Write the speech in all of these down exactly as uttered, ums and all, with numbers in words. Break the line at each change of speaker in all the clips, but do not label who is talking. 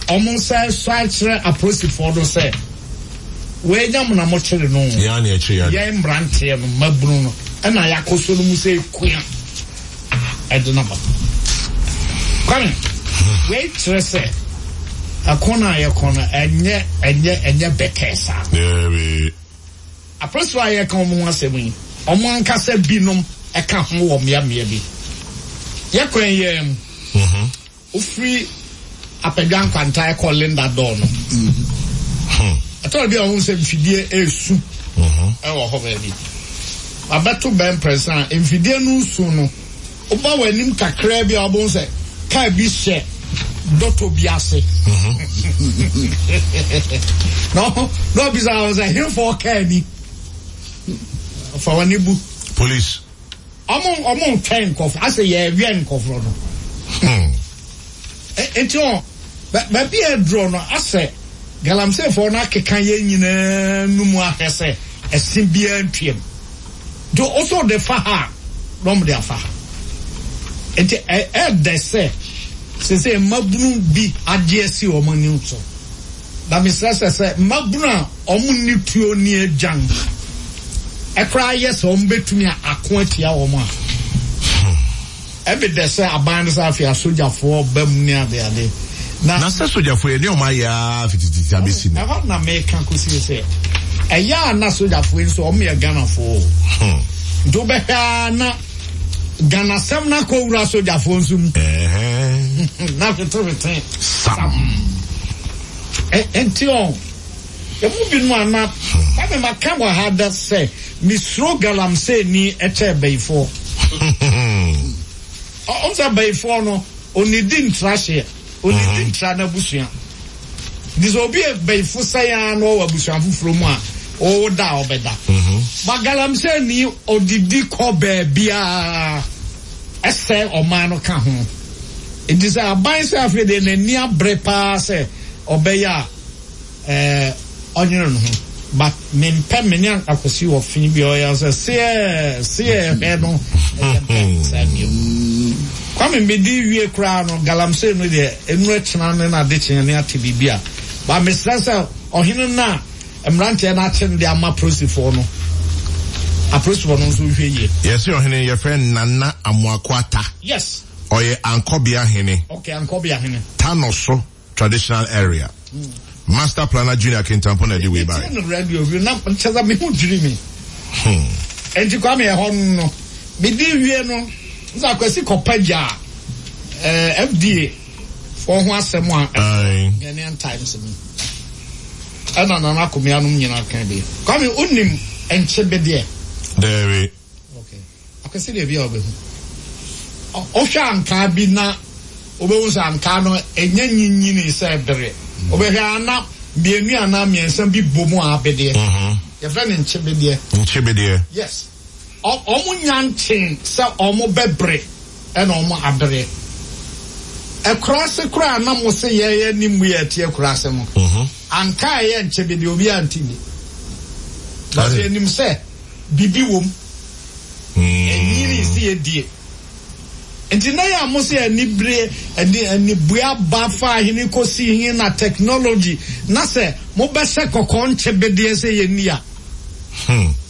ɔmo nsa sɔ akyerɛ apolisifoɔ no sɛ wɔanya mo na mokyere no.
Yɛn na ɛkyere yɛn.
Yɛn mmeranteɛ no, mmabunu no, ɛna yɛakɔ so no mu sɛ ekua ɛde no ba. Kwame, wei kyerɛ sɛ ɛko no a yɛkɔ no ɛnyɛ ɛnyɛ ɛnyɛ bɛtɛɛ saa.
Daabi.
Apolisifoɔ a yɛka wɔn ho asɛm yi, wɔn ankasa binom ɛka ho wɔ mmeammea bi. Yɛkwan yɛn mu. Wofiri Apɛdwa Nkwanta ɛkɔ Linda Dɔɔ no. Ɛtɔrɔ bi a wɔn sɛ mfidie esu ɛwɔ hɔ baabi. Abɛto bɛn prɛsa a mfidie no nsu no, woba wɔ anim kakraa bi a wɔbɛn sɛ kaa bi hyɛ dɔtɔ bi ase. Na na ɔbisa wɔn sɛ henfɔ kaa ni? Fa wɔn ani bu.
Police.
Ɔmo ɔmo ntwɛn nkɔfo asɛ yɛwɛn nkɔfo no. Nti ɔ baabi a aduro no asɛ galamseyfoɔ no akeka yɛn nyinaa no mu ahwɛ sɛ ɛse biara ntwam. Nti ɔsɔ de fa ha a na ɔmo de afa ha. Nti ɛɛdɛ sɛ sese mmabunu bi agye asi wɔn ani so. Na mesrɛ sɛ sɛ mmabunu a ɔmo ni tuo ni agyan ɛkoraa yɛ sɛ ɔmo bɛtumi ako atia wɔn a, ɛbi dɛ sɛ aban no sɛ afei asogyafoɔ ba mu ne adeade.
Na na sɛ sogyafoɔ yɛ ne ɔmo ayɛ a fitititi abɛsi no.
Ɛhɔ na meka kɔsi sɛ ɛyɛ a na sogyafoɔ yi nso ɔmo yɛ Ghanafoɔ o. Nti wobɛhwɛ a na Ghanasɛm no akɔwura sogyafoɔ nso mu. Na hwetehwete
sam.
Nti ɔ emu binom ana Kwame maka wɔ ha da sɛ mesuro galamsey ni ɛkyɛ bɛyifoɔ. Ɔm sɛ bɛyifoɔ no onidi ntra hyeɛ, onidi ntra n'abusua. Nti sɛ obi yɛ bɛyifo sɛn ara na ɔwɔ abusua foforɔ mu a, ɔwɔ da a ɔbɛda. Ba galamsey ni ɔdidi kɔ baabiara ɛsɛ ɔman no ka ho. Nti sɛ aban sɛ afei deɛ n'ani abere paa sɛ ɔbɛyɛ a, ɛɛ ɔnyere ne ho. But mempɛ me ne Akwasi wɔ fi bi ɔyɛ sɛ seɛ seɛ hwɛ no ɛyɛ mpɛ saa bio. Kwame medi wie koraa no galamsey no deɛ enu ɛkyena ne n'ade kyeɛ ne ate biribi a. Ba mesrɛ sɛ ɔhene no a mmeranteɛ no akye no de ama polisifoɔ no, apolisifoɔ no nso hwɛ yie.
Yɛsɛ ɔhene yɛfrɛ Nana Amoako Ata.
Yes.
Ɔyɛ Ankɔbea hene.
Okay, Ankɔbea hene.
Tanoso traditional area. Master Planner Junior Kintampo na ɛde wei bae.
Metie no radio bi na kyerɛ sɛ me ho dwiri me. Enti Kwame ɛhɔ no no, medi wie no, nsa Akwasi kɔpa gya eh, F D A foɔ ho asɛm a Ghanaian Times mu. Ɛna Nana Akomea nom nyinaa kan bi. Kwame, wonim nkyebedeɛ?
Daabi.
Okay. Akwasi deɛ bi a wobɛhu. Wohwɛ ankaa bi na wobɛhu sɛ ankaa no ɛnyɛ nyinyini sɛ bere. Wobɛhwɛ ana mmienu anaa mmiɛnsa bi bɔ mu a abedeɛ. Yɛfrɛ no nkyebedeɛ.
Nkyebedeɛ.
Yes. Ɔmo nya nkyen sɛ ɔmo bɛbere ɛna ɔmo abere. Ɛkuraase koraa na mo se yɛyɛ ne mu yɛ ɛte akuraase no. Ankaa ɛyɛ nkyebedeɛ obi ante ni. Na sɛ yɛnim sɛ bibi wɔ mu. Ɛnyini si yɛ die. Nti na yɛ a mo sɛ anibere ani anibue aba fa ahene kɔsi he na technology na sɛ mobɛhyɛ kɔkɔɔ nkyebedeɛ sɛ yɛnni a.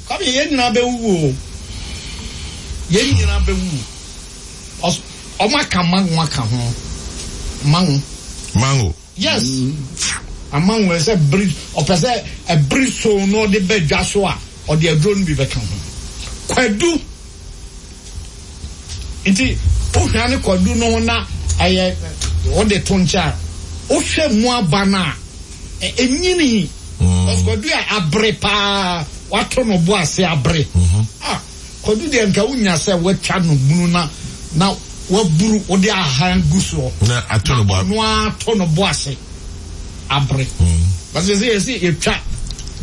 Kwame, yɛn nyinaa bɛwuwu o. Yɛn nyinaa bɛwuwu. Ɔmo aka mango aka ho. Mango.
Mango.
Yes. Amango sɛ bere ɔpɛ sɛ ɛbere so na ɔde bɛ dwa so a ɔde aduro no bi bɛka ho. Kwadu. Nti wohwɛ ne kwadu no ho na ɛyɛ wode to nkyɛn a wohwɛ mu aba no a ɛnyini. Kwadu a abere paa wato no bo ase abere. Ah, kwadu deɛ nka wonya sɛ woatwa no bunu na na waburu wode ahan gu soɔ.
Na ato no bo.
Na ato no bo ase abere. Basi sɛ yɛsi yɛtwa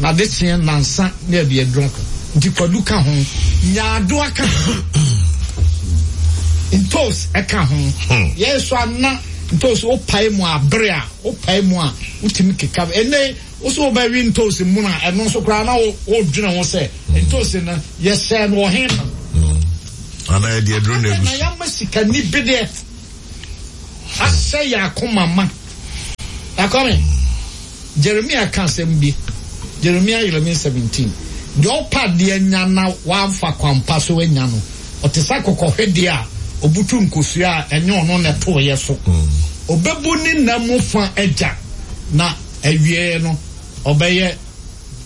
na de kyeɛ nansa na yɛde aduro aka. Nti kwadu ka ho, nyaadoa ka ho, ntos ɛka ho. Yɛn so ana ntos wopae mu abere a wopae mu a wotumi keka. Ɛnɛ woso wobɛwe ntos mu na ɛno nso koraa na wodwene ho sɛ ntos no yɛhyɛ no wɔ he no.
Ana yɛde aduro na egu
Na yɛama sikani bi deɛ ahyɛ yɛ akoma ma. Na Na Kwame, Jeremia ka asɛm bi, Jeremia eleven seventeen, deɛ ɔpa adeɛ nya na wamfa kwampa so anya no, ɔte sɛ akokɔhwedeɛ a obutu nkosua a ɛnyɛ ɔno na ɛtoeɛ so. Ɔbɛbu ne nna mu fa agya, na awieɛ no ɔbɛyɛ,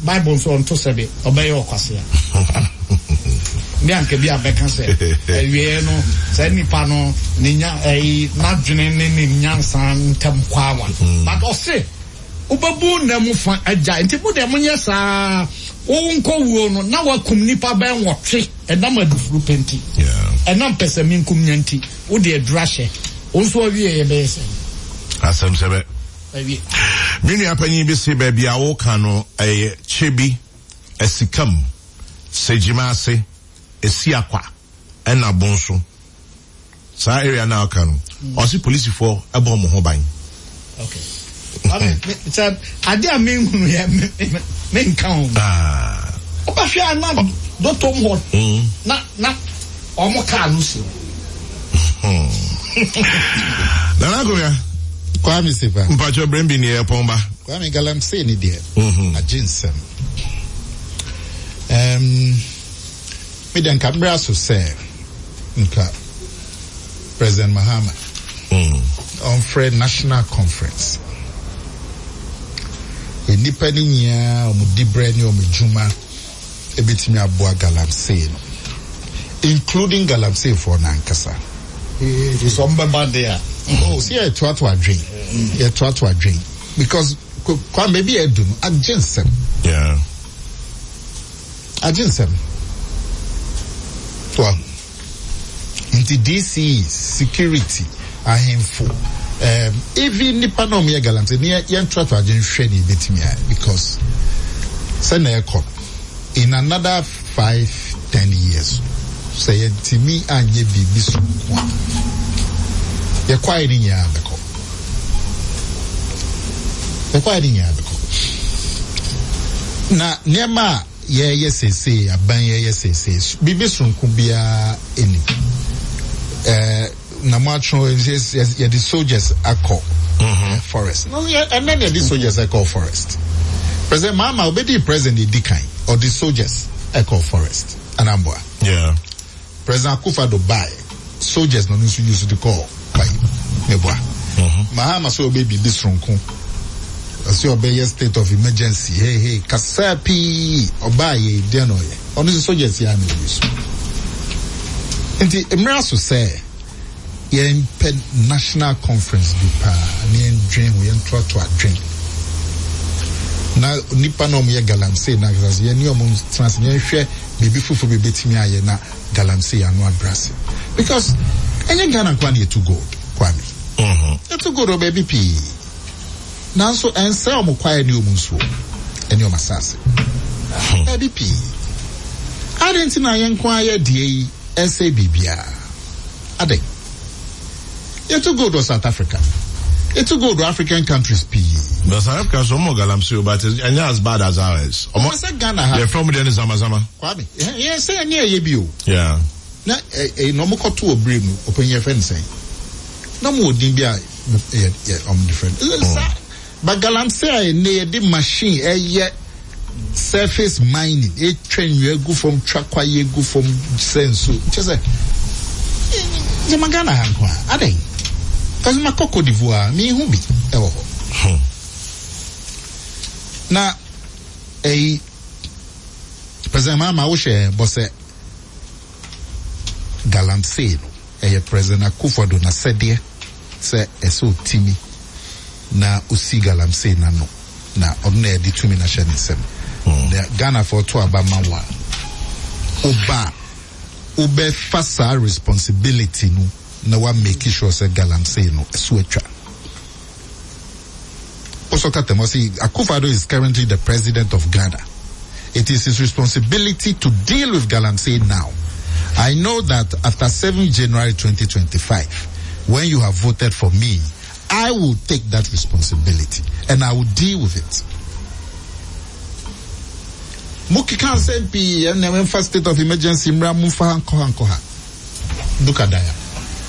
Bible nso ɔnto sɛbe, ɔbɛyɛ ɔkwasea. Ne anka bi a bɛka sɛ awieɛ no saa nipa no ne nya ɛyi n'adwene ne ne nyansa ntam kwawa. But ɔse wobɛbu nna mu fa agya, nti mo deɛ monyɛ saa, wo nkɔwuo no na wakum nipa bɛn wɔtwe ɛnam adufuru pɛ nti, ɛnam pɛsɛmenkum nya nti, wode aduru ahyɛ wo nso awie yɛ bɛyɛ sɛ
asɛm sɛ bɛ
awie.
Me nua panyin bi se baabi a woka no ɛyɛ Kyebi, Asikam, Segyima ase, Esiakwa ɛna Bonso. Saa area na ɔka no, ɔse polisifoɔ ɛbɔ ɔmo ho ban.
Okay. Sɛ ade a menhunu yɛ menka ho.
Ah.
Wobɛhwɛ a na dɔtɔm hɔ na na ɔmo kaa no si hɔ.
Nana Akomea.
Kwame Sefa.
Mpacho Brembi ni ɛpɔn ba.
Kwame, galamsey ni deɛ. Agye nsɛm. Um, me deɛ nka mmerɛ so sɛ nka President Mahama ɔmfrɛ national conference. Nnipa no nyinaa ɔmo dibrɛ ne ɔmo adwuma ebetumi aboa galamsey no, including galamsey foɔ n'ankasa.
Sɛ ɔmo bɛba de a.
Oh, see, yɛtoato adwen, yɛtoato adwen because Kwame, baabi a ɛdu no agye nsɛm.
Yeah.
Agye nsɛm. Well, nti D C, security, ahemfo, um, even nipa na ɔmo yɛ galamsey ne yɛn toato adwen hwɛ ne ebetumi ayɛ, because sɛ na ɛkɔ no, in another five ten years, sɛ yɛntumi anyɛ biribi so nko a, yɛkwae ne nyinaa bɛkɔ, yɛkwae ne nyinaa bɛkɔ. Na nneɛma a yɛyɛ seesei, aban yɛyɛ seesei, biribi soronko biara ɛnim. ɛɛ na mo atwerɛ yɛde soldiers akɔ forest no, yɛ ɛnɛ na yɛde soldiers akɔ forest. President Mahama obedi president edi kan, ɔde soldiers ɛkɔ forest anamboa.
Yeah.
President Akufo-Addo bae, soldiers na ɔno nso use de kɔɔ kwae meboa. Mahama sɛ ɔbɛ biribi soronko, ɔsɛ ɔbɛyɛ state of emergency, hey hey, kasa pii ɔbaa yɛ deɛ na ɔyɛ, ɔno nso soldiers yɛ ana ɔyi so. Nti mmerɛ so sɛ yɛmpɛ national conference bi paa na yɛndwen ho, yɛntoato adwen na nipa na ɔmo yɛ galamsey na akasa yɛne ɔmo tena ase, yɛnhwɛ biribi foforɔ bi ebetumi ayɛ na galamsey ano abrɛ, because ɛnyɛ Ghana nkoa na yɛtu gold, Kwame. Yɛtu gold wɔ baabi pii, nanso ɛnsɛ ɔmo kwaeɛ ne ɔmo nsuo ɛne ɔmo asase baabi pii adi. Nti na yɛn nko ayɛ deɛ yi ɛsɛ biribiara adi. Yɛtu gold wɔ South Africa, yɛtu gold wɔ African countries pii.
But South Africa so ɔmo galamsey, but ɛnyɛ as bad as ours.
Ɔmo sɛ Ghana ha.
Yɛ fɛn mo deɛ ne zama zama.
Kwame, yɛn sɛ yɛn ne ɛyɛ bi o.
Yeah.
Na ɛ ɛ na ɔmo kɔto wɔ bere mu, ɔpanyin, yɛ fɛn sɛn na ɔmo wɔ din bi a yɛ yɛ ɔmo different sa, but galamsey a ɛnɛ yɛde machine ɛyɛ surface mining, etwa nnua gu fam, twa kwaeɛ gu fam, sɛ nsuo kyɛ sɛ gyama Ghana ha nko a adɛn? Kasi ma kɔ Cote d'Ivoire, mi hu bi ɛwɔ hɔ. Na ɛyi President Mahama wohyɛ bɔ sɛ galamsey no ɛyɛ President Akufo-Addo n'asɛdeɛ sɛ ɛsɛ otimi na osi galamsey n'ano, na ɔno na yɛde tumi na hyɛ ne nsam. Na Ghanafoɔ to aba ma wo a, woba a wobɛfa saa responsibility no na wa make sure sɛ galamsey no ɛso atwa. Also, Katemo say Akufo-Addo is currently the president of Ghana. It is his responsibility to deal with galamsey now. I know that after seven January twenty twenty-five, when you have voted for me, I will take that responsibility and I will deal with it. Mokeka nsɛm pii, ɛna ɛmfa state of emergency mmra, momfa ha nkɔ ha nkɔ ha. Look at that.